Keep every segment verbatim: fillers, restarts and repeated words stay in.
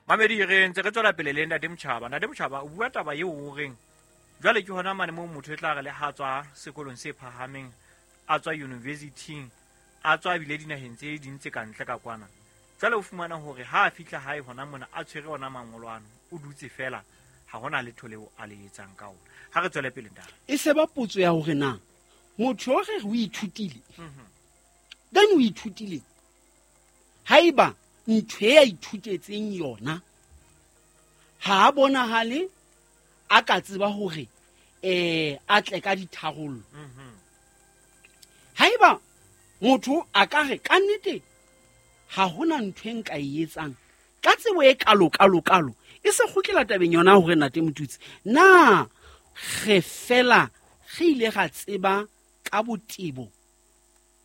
Mamedi, re ntse re tswela pele le Ntate Motjhaba. Ntate Motjhaba, o bua taba eo o reng jwale ke hona mane moo motho e tla re le ha tswa sekolong se phahameng, a tswa university-ing, a tswa ebile dinaheng tse ding tse kantle ka kwana. Jwale o fumana hore ha a fihla hae hona mona a tshwere ona mangolo ano, o dutse fela, ha hona letho leo a le etsang ka ona. Ha re tswele pele, ntate. E se ba potso ya hore na motho o re o ithutile, then o ithutile haeba ntho e a ithutetseng yona ha a bonahale a ka tseba hore eh a tle ka ditharollo. Haeba motho a ka re ka nnete ha hona ntho e nka e etsang ka tsebo e kalo kalo kalo, e se kgutlela tabeng yona hore Ntate Motutsi, na re fela re ile ra tseba ka botebo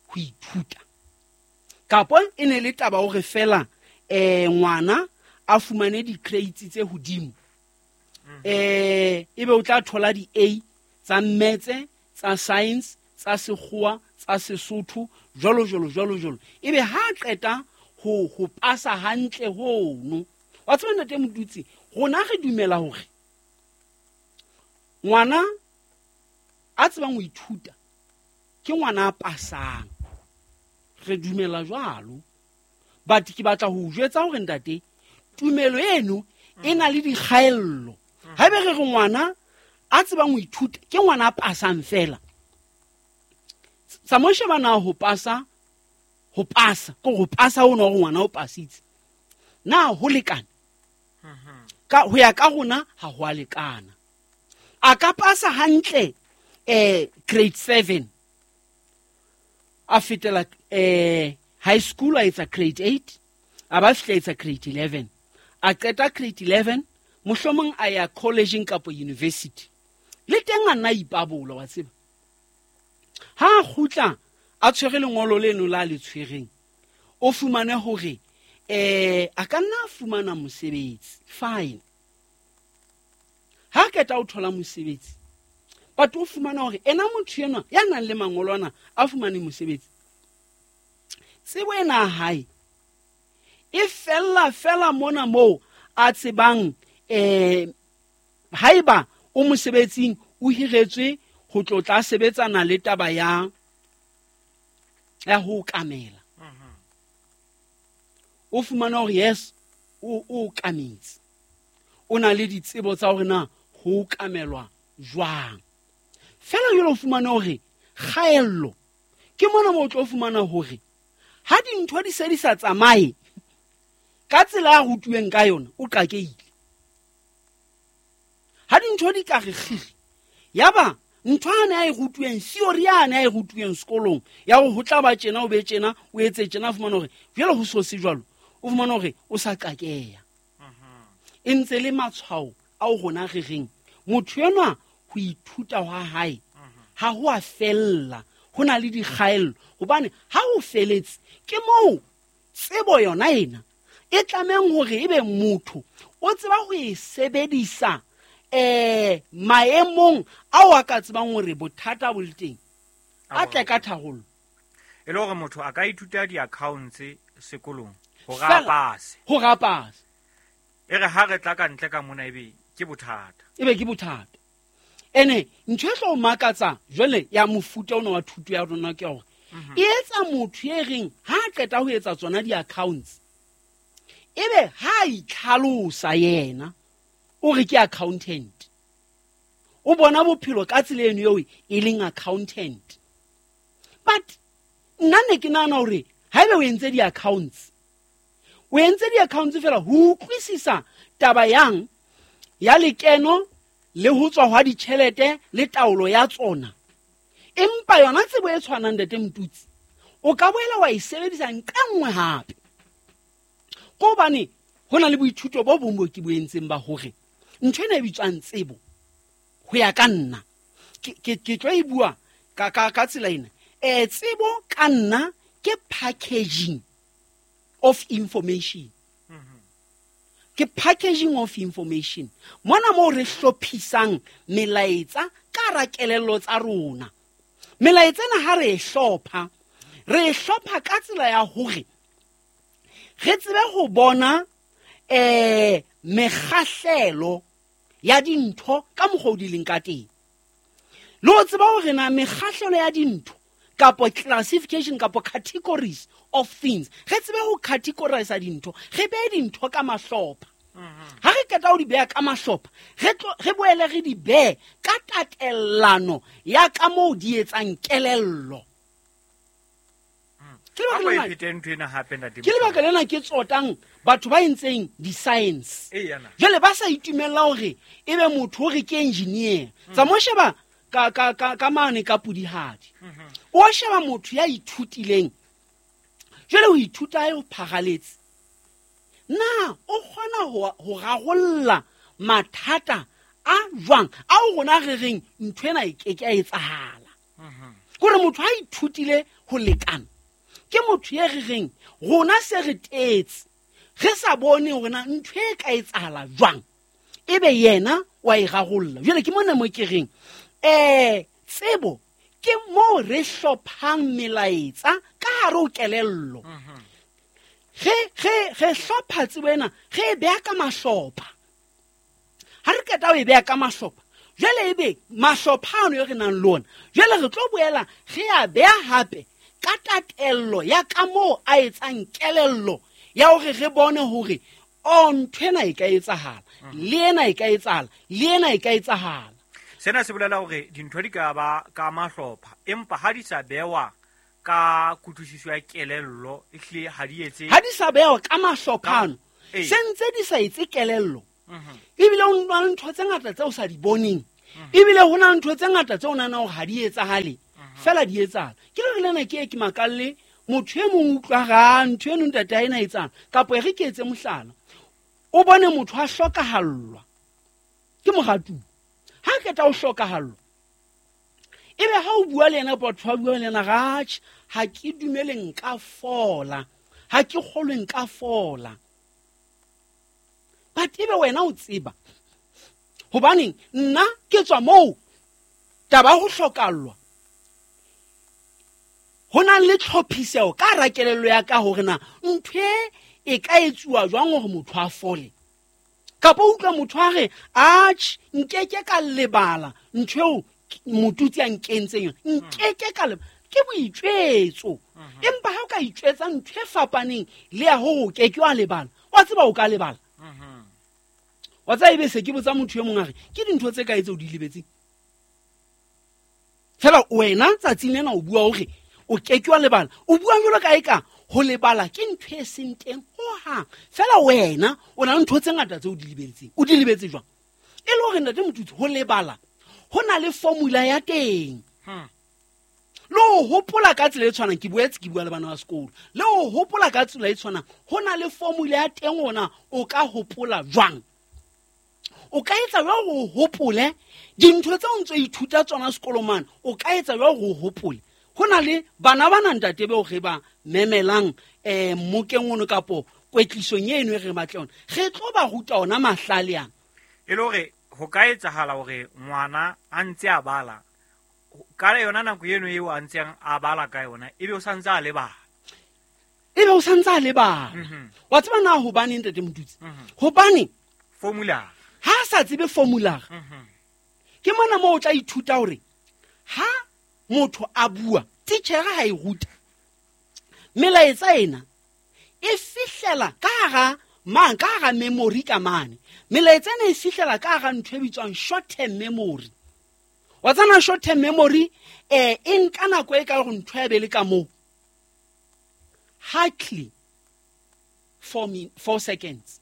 ho ithuta, kapo e ne le taba hore fela eh ngwana a fumane di-grades tse hodimo, eh ebe o tla thola di-A tsa maths, tsa science, tsa sekgowa, tsa Sesotho, jwalo jwalo jwalo jwalo, ebe ha qeta ho ho pasa hantle hono. Wa tseba Ntate Motutsi, rona re dumela hore ngwana a tsebang ho ithuta ke ngwana a pasang, re dumela jwalo. But ke batla ho jwetsa hore ntate, tumelo eno e na le dikgaello. Haebe re re ngwana a tsebang ho ithuta ke ngwana a pasang fela, sa mo sheba na ho pasa, ho pasa ke ho pasa ho no hore ngwana o pasitse, na ho lekane? Ka ho ya ka rona ha ho a lekana. A ka pasa hantle eh grade seven, a fetela eh high school, a etsa grade eight, a ba fihla etsa grade eleven, a qeta grade eleven, mohlomong a ya college kapa university, le teng a nna ipabola, wa tseba. Ha a kgutla a tshwere lengolo leno la le tshwereng, o fumane hore eh a ka nna a fumana mosebetsi, fine. Ha qeta o thola mosebetsi, but o fumana hore ena motho enwa ya nang le mangolo ana a fumane mosebetsi, tsebo ena hae e fella fela mona moo a tsebang eh haeba o mosebetsing o hiretswe ho tlo tla sebetsana le taba ya ya ho kamela. O fumana hore yes, o o kametse, o na le ditsebo tsa hore na ho kamelwa jwang. Fela jwale o fumana hore kgaello ke mona moo o tlo fumana hore ha dintho di se di sa tsamaye ka tsela a rutuweng ka yona, o qakehile. Ha dintho di ka re kgiri, yaba ntho ane a e rutuweng, theory ane a e rutuweng sekolong ya hore ho tla ba tjena, o be tjena, o etse tjena, fumana hore jwale ho so se jwalo, o fumana hore o sa qakeha. E ntse le matshwao ao rona re reng motho enwa ho ithuta hwa hae ha ho a fella, ho na le dikgaello. Hobane ha ho feletse ke moo tsebo yona ena e tlamehang hore ebe motho o tseba ho e sebedisa eh maemong ao a ka tsebang hore bothata bo le teng, a tle ka tharollo. E le hore motho a ka ithuta di-accounts sekolong hore a pase, hore a pase, e re ha re tla ka ntle ka mona ebe ke bothata, ebe ke bothata. Ene ntho e tlo makatsa jwale ya mofuta ona wa thuto ya rona ke hore e etsa motho e reng ha a qeta ho etsa tsona di-accounts, ebe ha a itlhalosa yena o re ke accountant, o bona bophelo ka tsela eno eo e leng accountant. But nna ne ke nahana hore haebe o entse di-accounts, o entse di-accounts fela ho utlwisisa taba yang ya lekeno le ho tswa hwa ditjhelete le taolo ya tsona. Empa yona tsebo e tshwanang Ntate Motutsi, o ka boela wa e sebedisa nqa nngwe hape. Ko hobane ho na le boithuto bo bong bo ke bo entseng ba hore ntho ena e bitswang tsebo, ho ya ka nna, ke ke ke tlo e bua ka ka ka tsela ena. Eh tsebo ka nna ke packaging of information. Ke packaging of information. Mona moo re hlophisang melaetsa ka hara kelello tsa rona. Melaetsa ena ha re e hlopha, re e hlopha ka tsela ya hore re tsebe ho bona um mekgahlelo ya dintho ka mokgwa o di leng ka teng. Le ho tseba hore na mekgahlelo ya dintho kapo classification kapo categories of things, re tsebe ho categorize dintho, re behe dintho ka mahlopha. Ha re qeta ho di beha ka mahlopha, re tlo re boele re di behe ka tatellano ya ka moo di etsang kelello. Ke A lebaka ko e lena- phete ntho ena hape, ntate ke lebaka Motjhaba. lena ke tsotang batho ba entseng di-science. Eya na. Jwale ba sa itumella hore ebe motho o re ke engineer. Tsa mo sheba ka, ka, ka, ka mane ka Pudihadi. O sheba motho ya ithutileng. Jwale ho ithuta hae ho pharaletse. Na o kgona ho, ho rarolla mathata a jwang ao rona re reng ntho ena e ke ke ya etsahala. Kore motho ha ithutile ho lekana, ke motho e re reng rona se re tetse, re sa bone hore na ntho e ka etsahala jwang, ebe yena wa e rarolla. Jwale ke mona mo ke reng, eh, tsebo ke moo re hlophang melaetsa ka hare ho kelello. Re, re, re hlopha tsebo ena, re e beha ka mahlopha. Ha re qeta ho e beha ka mahlopha, jwale ebe mahlopha ano e re nang le ona, jwale re tlo boela re a beha hape ka tatello ya ka moo a etsang kelello ya hore re bone hore o ntho ena e ka etsahala, le ena e ka etsahala, le ena e ka etsahala. Sena se bolela hore dintho di ka ba ka mahlopha, empa ha di sa bewa ka kutlwisiso ya kelello, ehlile ha di etse Ha di sa bewa ka mahlopha ano, Ka- ee. se ntse di sa etse kelello. Mhm. Ebile ho na le ntho tse ngata tseo o sa di boneng. Ebile ho na le ntho tse ngata tseo o nahanang hore ha di etsahale, fela di etsahala. Ke le lena ke e ke makalle motho e mong utlwa ra ntho eno ntate ha ena etsang, kapa e re ke etse mohlala. O bone motho a hlokahallwa ke moratuwa. Ha qeta ho hlokahallwa, ebe ha o bua le yena, batho ba bua le yena, ratjhe, ha ke dumele nka fola, ha ke kgolwe nka fola. But ebe wena o tseba hobaneng nna ke tswa moo taba ya ho hlokallwa ho na le tlhophiseho ka hara kelello ya ka hore na ntho e e ka etsuwa jwang hore motho a fole. Kapa o utlwa motho a re, atjhe, nkeke ka lebala ntho eo motutsi a nkentseng yona, nkeke ka lebala. Ke boitjwetso. Empa ha o ka itjwetsa ntho e fapaneng le ya hore o keke wa lebala, wa tseba o ka lebala. Wa tseba ebe se ke botsa motho e mong a re, ke dintho tse kae tseo di lebetseng? Fela wena tsatsing lena o bua hore o keke wa lebala. O bua jwalo ka eka ho lebala ke ntho e seng teng hohang. Fela wena o na le ntho tse ngata tseo o di lebetseng. O di lebetse jwang? E le hore ntate Motutsi, ho lebala ho na le formula ya teng. Hmm. Le ho hopola ka tsela e tshwanang, ke boetse ke bua le bana ba sekolo. Le ho hopola ka tsela e tshwanang, ho na le formula ya teng hona o ka hopola jwang. O ka etsa jwang hore o hopole dintho tseo o ntso ithuta tsona sekolong mane, o ka etsa jwang hore o hopole? Ho na le bana ba ntate beo re ba memelang, eh, mmokeng ono kapo kwetlisong eno e re batla yona. Re tlo ba ruta ona mahlale ana. E le hore ho ka etsahala hore ngwana a ntse a bala, ka yona nako eno eo a ntseng a bala ka yona, ebe o sa ntse a lebala. Ebe o sa ntse a lebala. Mhm. Wa tseba na hobaneng, ntate Motutsi? Mhm. Hobane Formula. ha a sa tsebe formula. Mhm. Ke mona moo o tla ithuta hore ha motho a bua, titjhere ha e ruta, melaetsa ena e fihlela ka hara mang, ka hara memory ka mane. Melaetsa ena e fihlela ka hara ntho e bitswang short term memory. Wa tsena short term memory, eh, e nka nako e ka hore ntho ya be le ka moo. Hardly four min-, four seconds.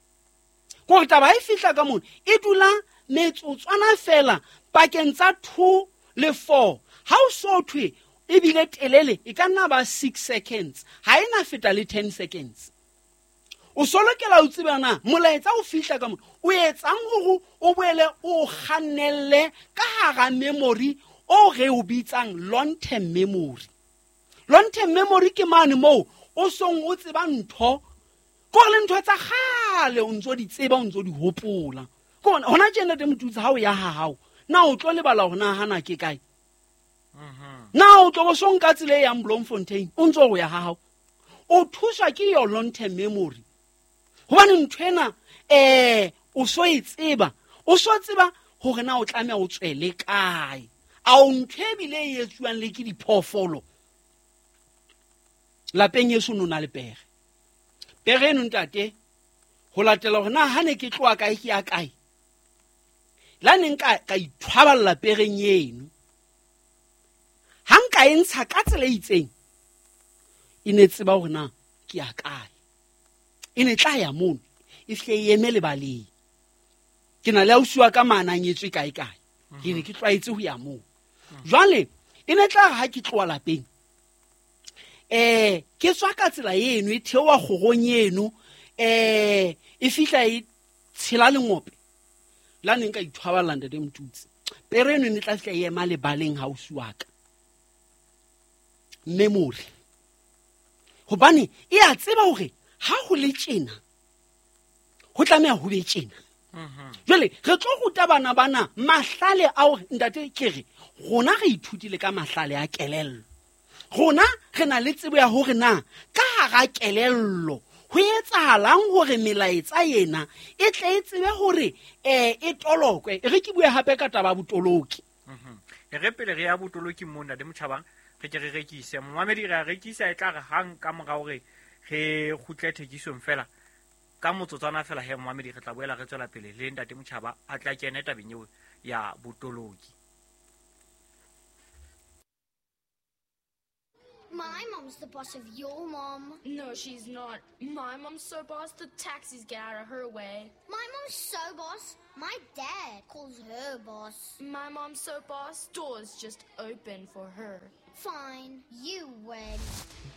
Kore taba ha e fihla ka mono, e dula metsotswana fela pakeng tsa two le four. Ha o so thwe ebile telele, e ka nna ba six seconds. Ha e na feta le ten seconds. O so lokela ho tseba na molaetsa o fihla ka mono, o etsang hore o boele o kgannelle ka hara memory o re o bitsang long term memory. Long term memory ke mane moo o song o tseba ntho, kore le ntho tsa kgale o ntso di tseba, o ntso di hopola. Ke hona, hona tjena ntate Motutsi, ha o ya ha hao, na o tlo lebala hore na hana ke kae? Mhm. Na o tlo bo so nka tsela e yang Bloemfontein, o ntso o ya ha hao? O thuswa ke your long term memory. Hobane ntho ena eh o so e tseba, o so tseba hore na o tlameha o tswele kae. A o ntho e bile e etsuwang le ke diphoofolo. Lapeng eso no na le pere. Pere eno ntate ho latela hore na ha ne ke tloha kae ke ya kae. La neng ka ka ithwaballa pereng eno. Ha nka e ntsha ka tsela e itseng, e ne tseba hore na ke ya kae. E ne tla ya mono, e hle e eme lebaleng. Ke na le ausi wa ka manang etswe kae kae. Ke ne ke tlwaetse ho ya moo. Jwale e ne tla ha ke tloha lapeng. Eh ke tswa ka tsela eno e theoha kgorong eno, eh e fihla e tshela lengope. La neng ka ithwaballa ntate Motutsi. Pere eno e ne tla fihla e ema lebaleng hausi wa ka. Memory. Hobane e a tseba hore ha ho le tjena ho tlameha ho be tjena. Jwale re tlo ruta bana bana mahlale ao ntate ke re rona re ithutile ka mahlale a kelello. Rona re na le tsebo ya hore na ka hara kelello ho etsahalang hore melaetsa ena e tle e tsebe hore eh e tolokwe. E re ke bue hape ka taba ya botoloki. Re pele re ya botoloki mona le Motjhabang re ke re rekise. Momamedi re a rekisa e tla re hang ka mora hore re kgutle thekisong fela. Ka motsotswana fela he momamedi re tla boela re tswela pele le ntate Motjhaba a tla kene tabeng eo ya botoloki. My mom's the boss of your mom. No, she's not. My mom's so boss, the taxis get out of her way. My mom's so boss, my dad calls her boss. My mom's so boss, doors just open for her. Fine, you win.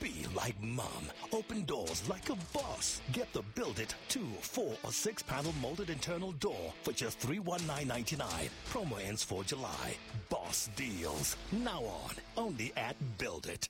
Be like mom. Open doors like a boss. Get the Build It two, four, or six panel molded internal door for just three one nine ninety-nine. Promo ends for July. Boss deals. Now on. Only at Build It.